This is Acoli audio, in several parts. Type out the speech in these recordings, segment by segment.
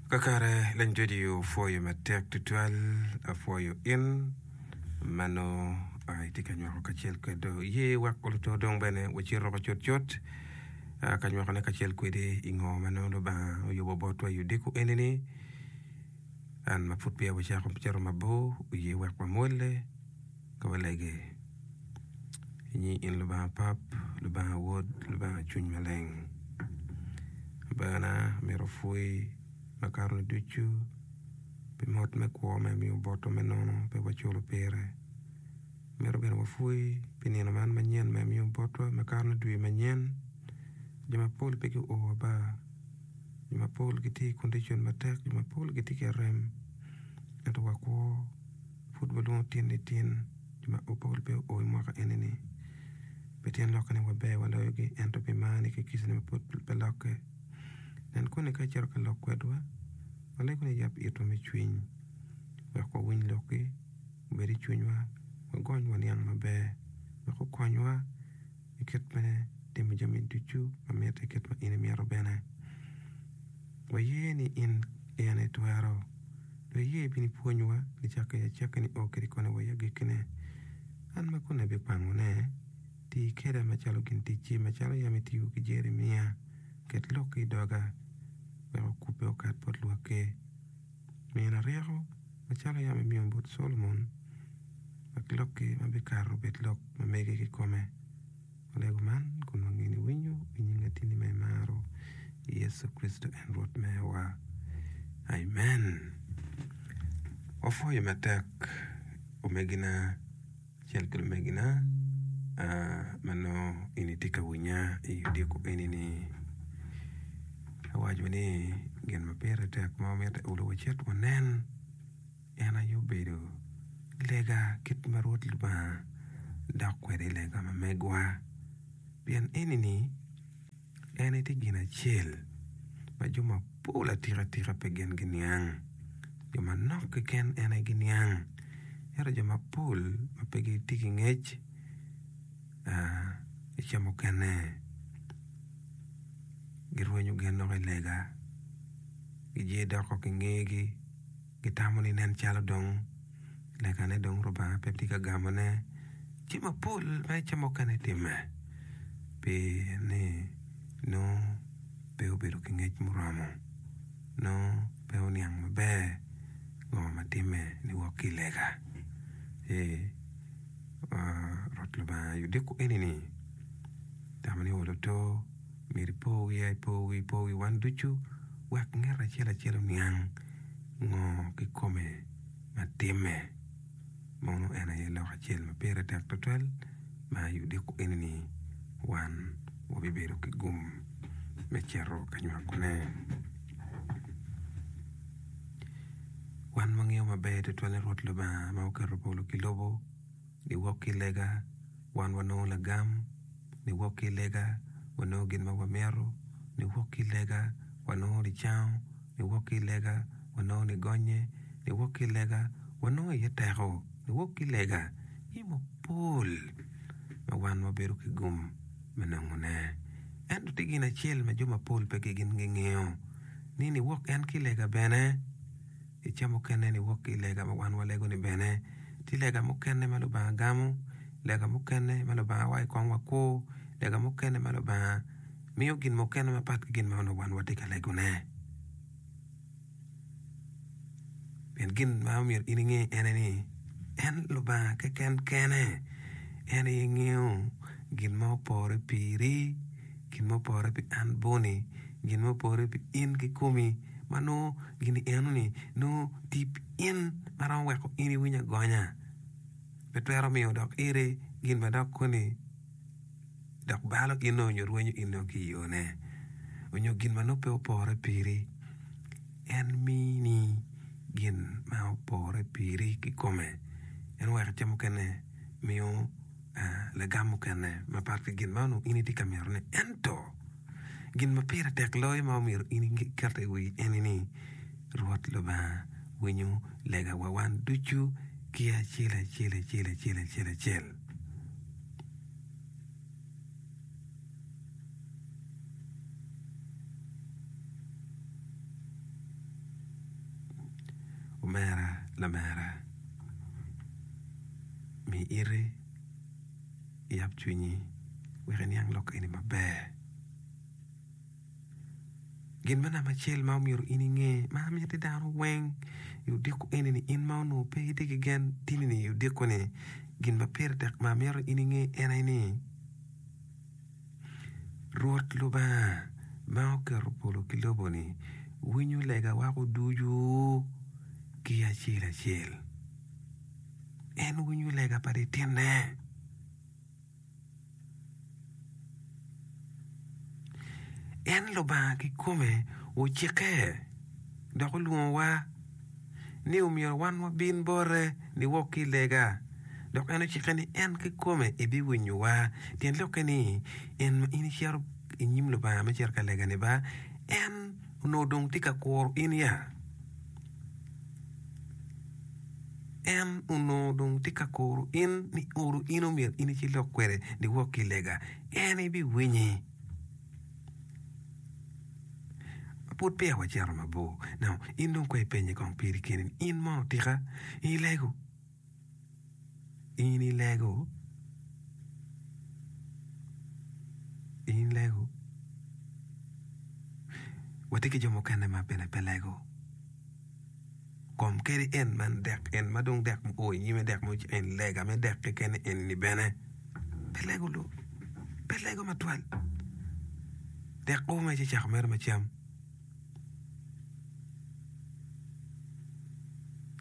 Kakare leny radio pwoyo matek tutwal apwoyo in ma nongo itye ka nywako kacel kwedwa ye wek oluto dong bene wacito woko cutcut ka nywakone kacel kwedi i ngo ma nongo Lubanga oyubo botwa i odiko eni-ni. An ma pud peya wacako cito mabor oye wek wamwolle ka walege i nying in Lubanga Pap, Lubanga Wod, Lubanga Cwiny Maleng. Abana myero opwoyi makato-ni ducu pi mot me kwo ma imiyo botwa me nono pe waculo pire. Myero bene wapwoyi pi nino man manyen ma imiyo botwa makato ni dwe manyen. Jo mapol pe guo aba, jo mapol gitye i kondicon matek, jo mapol gitye ki arem ento wakwo. Pud walwongo tin ni tin, jo mapol pe oo i mwaka eni-ni. Pe tyen lokke ni waber waloyogi, ento pi marni ki kicani ma pud pe lokke. Nen koni ka icito ka lok kwedwa, walego ni iyab itwa me cwiny wek wawiny lokki, obed i cwinywa, wagony waniang maber, wek okonywa i kit me timo jami ducu ma mitte kit ma in imito bene. Waye ni in aye itwero. Dong iye ibin ipwonywa nicakke i acakki nio kwede koni wa i agikkine. An ma koni abikwangone, ti keda macalo gin ticci, macalo yam itiyo ki Jeremia, ket lokki i doga, wek okubbe okat bot lwakki. Mina ryeko, macalo yam imiyo bot Solomon, wek lokki ma bikato obed lok ma megi kikome. Walego man kun wangeyo ni winyo i nying latinni ma imaro, Yecu Kricito en Rwot mewa. Amen. Wapwoyo matek omegina kacel ki lumegina ma nongo in itye ka winya i odiko eni-ni. Awaco ni gin ma pire tek ma wamito olo wacit wanen. En aye obedo lega kit ma Rwot Lubanga dok kwede i lega ma megwa. Pien eni-ni en aye tye gin acel ma jo mapol atika tika pe gin giniang, jo manok keken en aye giniang, ento jo mapol ma pe gitye ki ngec i ca mukene girwenyo gen dok i lega giye doko ki ngegi. Gitamo ni nen calo dong legane dong Rubanga pe tye ka gamone. Jami mapol ma i ca mukene timme pi ni nongo pe obedo ki ngec muromo, nongo pe oniang maber ngo ma timme niwok ki i lega. Ci Rwot Lubanga odiko eni-ni tamo ni olo to myero ipo wiya, ipo wi, ipo wi wan ducu wek ngat acel acel oniang ngo kikome ma timme. Mono en aye lok acel ma pire tek tutwal ma i odiko eni-ni wan wabibedo ki gum me cito ka nywakone. Wan wangeyo maber tutwal ni Rwot Lubanga ma oketo polo ki lobo niwok ki lega wan wanongo lagam. Niwok ki i lega, wanongo gin ma wamito. Niwok ki i lega, wanongo nicango. Niwok ki i lega, wanongo nigonye. Niwok ki i lega, wanongo iye teko. Niwok ki i lega, jami mapol ma wan wabedo ki gum me nongone. Ento tye gin acel ma jo mapol pe gin gingeyo, ni niwok en ki i lega bene. I ca mukene niwok ki i lega ma wan walego-ni bene, tye lega mukene ma Lubanga gamo, lega mukene ma Lubanga waco kong wakur, lega mukene ma Lubanga miyo gin mukene mapat ki gin ma onongo wan watye ka legone. Pien gin ma omyero in inge en aye ni, en Lubanga keken kene en aye ngeyo gin ma opore piri, gin ma opore pi an boni, gin ma opore pi in kikomi ma nongo gin enoni nongo tye pi in ma romo weko in iwinyo agonya. Pe twero miyo dok iri gin ma dok koni dok balo in-nu nyo rwenyo in-nu ki i yone nyo gin ma nongo pe opore piri. En mini gin ma opore piri kikome. En weko ca mukene miyo lagam mukene mapat ki gin ma onongo in itye ka mitone. Ento gin ma pire tek loyo ma omyero in iket i wi eni ni, Rwot Lubanga winyo legawa wan ducu ki acel acel acel acel acel acel. Lamera, mi iti, iyab cwinyi wek iniang lok eni maber. Gin me namba acel ma omyero in inge ma amiti dano weng i odiko eni ni in ma onongo pe itye ki gen tini ni i odiko ni gin ma pire tek ma amito in inge en aye ni Rwot Lubanga ma oketo polo ki lobo ni winyo lega wako ducu ki acel acel. En winyo lega pa litine. En Lubanga kikome ocikke dok olwongowa ni omyero wan wabin bote niwok ki i lega. Dok en ocikke ni en kikome ebiwinyowa. Tyen lokke ni, en ma in icito i nyim Lubanga me cito ka lega-ni ba, en onongo dong tye ka kuro in ya. En onongo dong tye ka kuro in ni oro in omyero in icilok kwede niwok ki i lega. En ebiwinyi. Pud peya wacito mabor. Now, in dong kong ipenye kong piri keni ni, in mono tika ilego? In ilego? In ilego? Watye ki jo mukene ma bene pe lego. Kom kadi en man dek en ma dong dek oo i nyime dek mo en lega me dek keken eni bene pe lego lung pe lego matwal dek o ma ci cako mere ma cam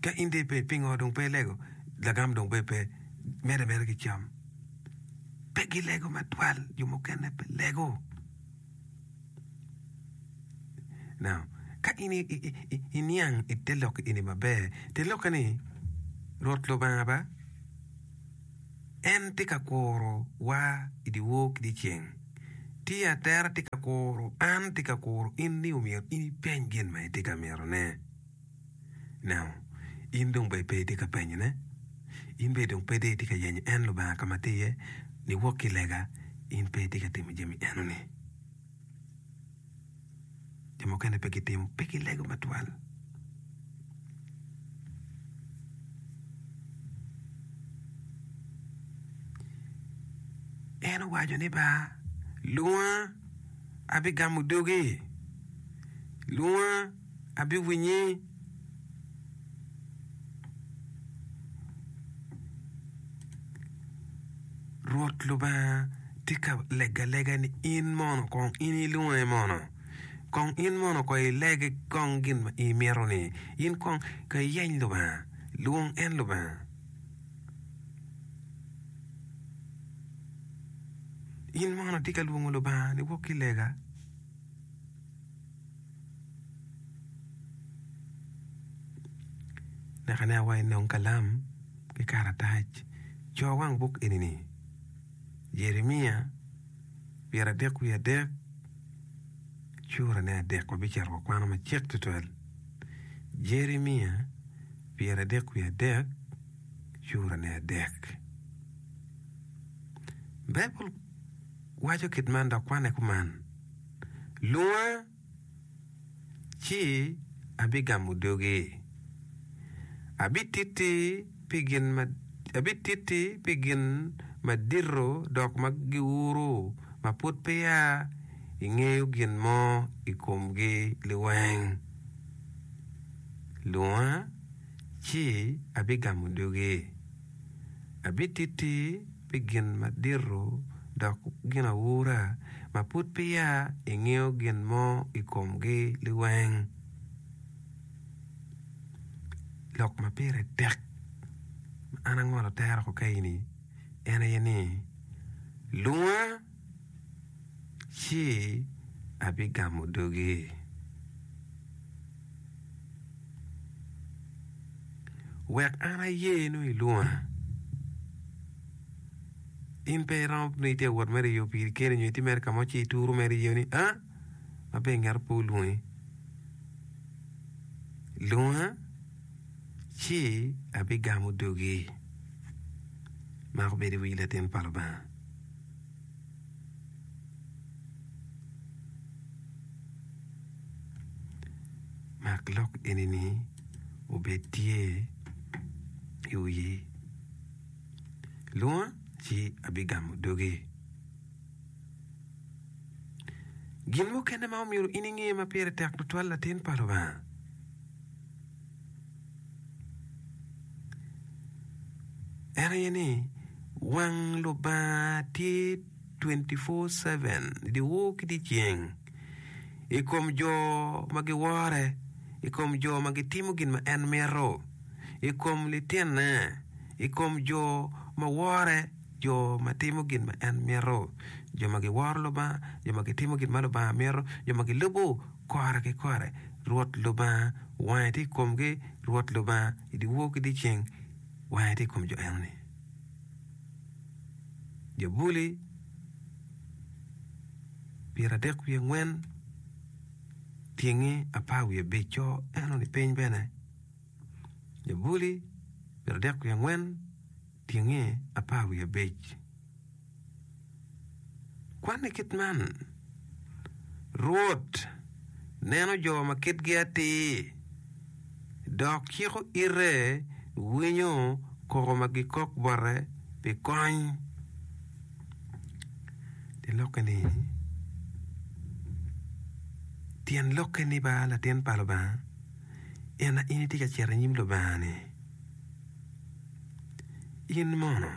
ka in dong ipe pingo dong pe ilego lagam dong bene pe medde ameda ki cam pe gilego matwal jo mukene pe lego. Now, ka in iniang i te lok eni maber, te lokke ni Rwot Lubanga ba, en tye ka kuro wa i dyewor ki dyeceng. Tye atera tye ka kuro an, tye ka kuro in ni omyero in ipeny gin ma itye ka mitone. Now, in dong bene pe itye ka penyone, in bene dong pe dong itye ka yenyo en Lubanga ka ma tye iye, niwok ki i lega, in pe itye ka timo jami enoni. Jo mukene pe gitimo, pe gilego matwal. En owaco ni ba, Lwonga, abigamo dogi. Lwonga. Abiwinyi. Rwot Lubanga tye ka lego alega ni in mono kong in ilwonge mono, kong in mono kong ilege kong gin ma imito-ni, in kong ka iyeny Lubanga, lwong en Lubanga. In mono itye ka lwongo Lubanga niwok ki i lega? Naka ne awa inong kalam ki karatac, co wang buk eni-ni, Jeremia pyeradek wiye adek, curane adek wabicito wakwano macek tutwal. Jeremia pyeradek wiye adek, curane adek. Baibul waco kit man dok kwane kuman, Lwonga, ci abigamo dogi. Abititti pi gin ma, abititti pi gin madito dok ma giuro ma pud peya ingeyo gin mo i komgi liweng. Lwonga, ci abigamo dogi. Abititti pi gin madito dok ginaura ma pud peya ingeyo gin mo i komgi liweng. Lok ma pire tek ma an angolo tera ko kaeni en aye ni, Lunga ci abigamo dogi. Wek an aye nongo ilwonga. In pe iromo ni itye ka wot mere i yo piri keni nyo itye mere ka mo ci ituru mere iye ni a ma pe ingeto pe olwongi. Lwonga ci abigamo dogi. Mako bedo i wi latin pa Lubanga. Mak lok eni-ni obed tye. i wiyi. Lwonga ci abigamo dogi. Gin mukene ma omyero in inge ma pire tek tutwal latin pa Lubanga, en aye ni wang Lubanga tye 24/7 dyewor ki dyeceng i kom jo ma giwore, i kom jo ma gitimo gin ma en mito, i kom litinne, i kom jo ma wore, jo ma timo gin ma en mito, jo ma giworo Lubanga, jo ma gitimo gin ma Lubanga mito, jo ma gilubo kore ki kore. Rwot Lubanga wange tye i komgi, Rwot Lubanga i dyewor ki dyeceng wange tye i kom jo enoni. Jabuli 34 tyenge 15 co enoni piny bene. Jabuli 34 tyenge 15. Kwanne kit man, Rwot neno jo ma kitgi atir, dok ciko ite winyo koko ma gikok bote pi kony. Tyen lokke ni, Tyen lokke ni ba latin pa Lubanga, en a in itye ka cito i nyim Lubanga-ni, in mono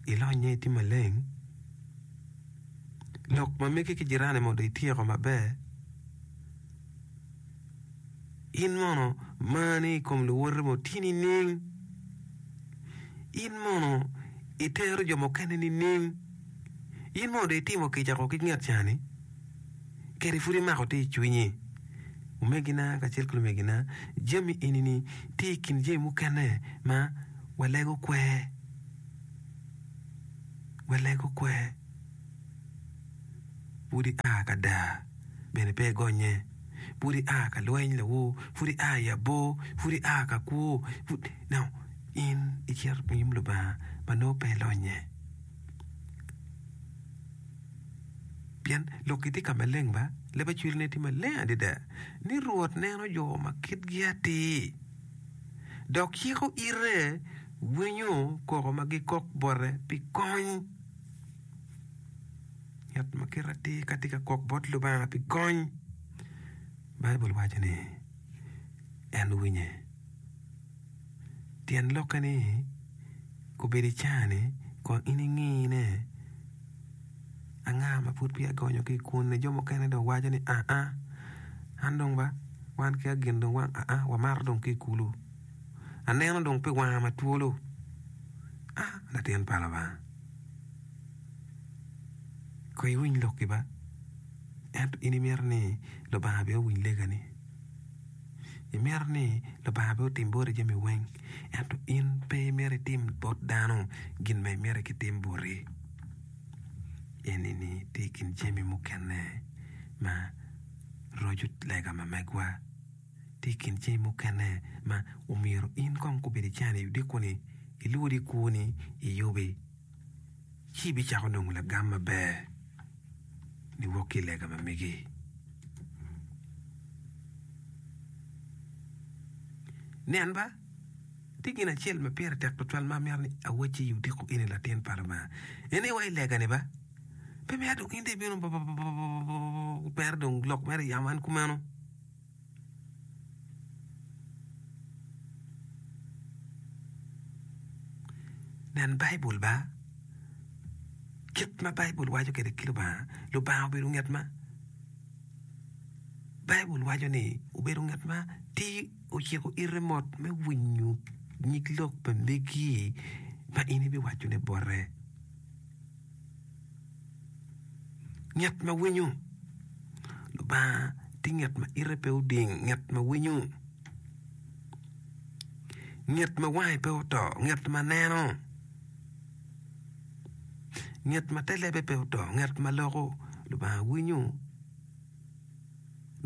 ilonye itye maleng? Lok ma megi ki jirani mono dong ityeko maber? In mono marni i kom luwoti mono tye nining? In mono itero jo mukene nining? In mono dong itimo kica ko ki nget cani? Kadi pud imako tye i cwinyi? Omegina kacel ki lumegina, jami eni-ni tye i kin jami mukene ma walego kwer. Walego kwer. Pud ia ka daa bene pe igonye, pud ia ka lweny lawor, pud ia i abor, pud ia ka kwo, pud now in icito i nyim Lubanga ma nongo pe ilonye. Pien lokki tye ka maleng ba, leb acweline tye maleng adada ni Rwot neno jo ma kitgi atir, dok ciko ite winyo koko ma gikok bote pi kony. Ngat ma kite atir ka tye ka kok bot Lubanga pi kony, Baibul waco ni en winye. Tyen lokke ni, kobedo i caa-ni kong in ingine anga ma pud peya gonyo ki i kwone. Jo mukene dong waco ni aa an dong ba wan ki agin dong aa wamato dong ki i kulu aneno dong pi wanga ma twolo aa latin pa Lubanga. Kong iwiny lokki ba, ento in imito ni Lubanga bene owiny legani. Imito ni Lubanga bene otim boti jami weng, ento in pe imito itim bot dano gin ma imito kitim boti. Eni-ni tye i kin jami mukene ma roco lega ma megwa. Tye i kin jami mukene ma omyero in kong kubed icani odiko-ni ilwod kwoni iyubi. ci ibicako nongo lagam maber niwok ki i lega ma megi. Nen ba, tye gin acel ma pire tek tutwal ma amito ni awacci i odiko eni latin pa Lubanga. En aye wa i lega-ni ba, pe mito dong in dong ibino mere dong lok mere yamo en kumeno. Nen Baibul ba, kit ma Baibul waco kwede ki Lubanga, Lubanga obedo nget ma Baibul waco ni obedo nget ma tye ociko ite mot me winyo nyig lok pa megi ma in ibiwacone bote. Ngat ma winyo Lubanga tye ngat ma ite pe oding, ngat ma winyo, ngat ma wange pe oto, ngat ma neno, ngat ma te lebe pe oto, ngat ma loko. Lubanga winyo.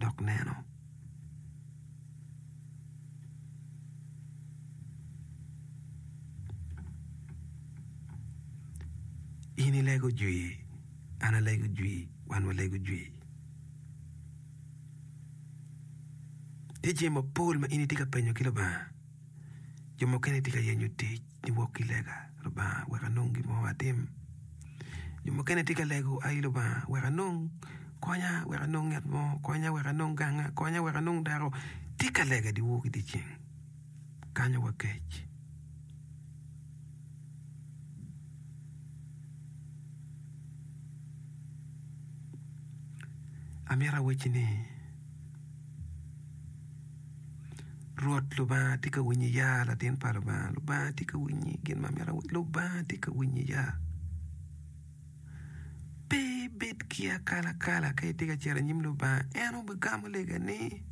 dok neno. In ilego jwi, an alego jwi, wan walego jwi. Tye jami mapol ma in itye ka penyo ki Lubanga. Jo mukene tye ka yenyo tic niwok ki lega, Lubanga wek anong gin mo atim. Jo mukene tye ka lego, Ai Lubanga wek anong konya, wek anong ngat mo, konya wek anong ganga, konya wek anong dako. Tye ka lega dyewor ki dyeceng, kanyo wa kec. Amito awacci ni, Rwot Lubanga tye ka winyi ya, latin pa Lubanga. Lubanga tye ka winyi, gin ma amito awacci, Lubanga tye ka winyi ya. Pe ibed ki akalakala ka itye ka cito i nyim Lubanga, en obigamo legani.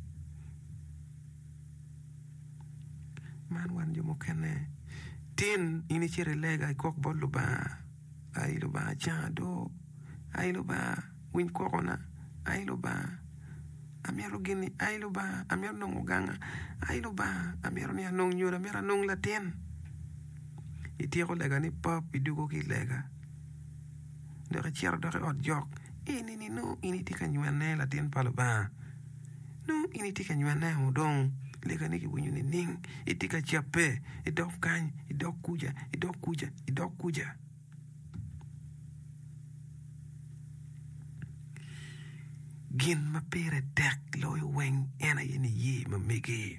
Man wan jo mukene, tin in icito ilega ikok bot Lubanga, ai Lubanga canga do, ai Lubanga winy kokona, ai Lubanga amito gin-ni, ai Lubanga amito nongo ganga, ai Lubanga amito ni anong nyodo, amito anong latin. Ityeko lega ni pap idwogo ki i lega dok icito dok i ot jok, eni-ni nongo in itye ka nywene latin pa Lubanga. Nongo in itye ka nywene o dong legani kiwinyo nining? Itye ka cabbe idok kany, idok kuca, idok kuca, idok kuca. Gin ma pire tek loyo weng en aye niye ma megi.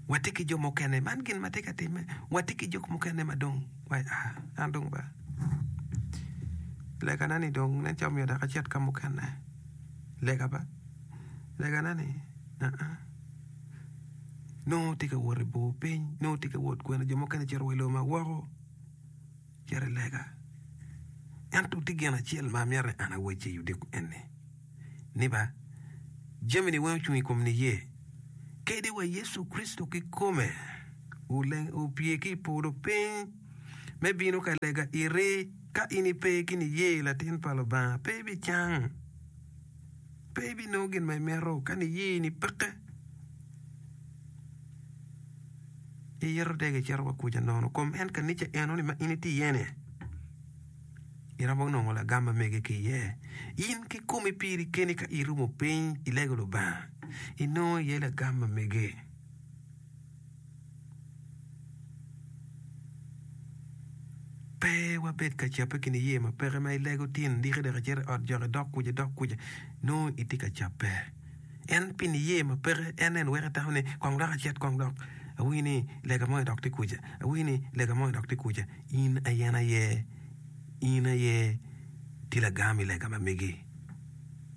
Watye ki jo mukene, man gin ma tye ka timme, watye ki jo mukene ma dong waco aa an dong ba legana ni dong nen calo myero dok acit ka mukene, lega ba, legana ni aa nongo tye ka wot i bor piny, nongo tye ka wot kwene jo mukene cito wa i lobo ma woko cito i lega. Ento tye gin acel ma amito ni an awacci i odiko eni. ni ba jami-ni weng ocung i kom niye. Kadi wa Yecu Kricito kikome opye ki i polo piny me bino ka lega iri, ka in ipe ki niye latin pa Lubanga, pe ibicang, pe ibinongo gin ma imito ka niye-ni peke. Iyito dege icito wa kuca nono kom en kanica enoni ma in itye iye-ni. Iromo nongo lagam ma mege ki iye. In kikomi piri keni ka irumo piny ilego Lubanga, inongo iye lagam ma mege. Pe wabed ka cabbe ki niye ma peke ma ilego tin diki dok icito i ot jok idok kuca idok kuca, nongo itye ka cabbe. En pi niye ma peke en en weko itamo ni kong dok acit kong dok awinyo ni lega mo dok tye kuca, awinyo ni lega mo dok tye kuca. In aye en aye, in aye tye lagam i lega ma megi.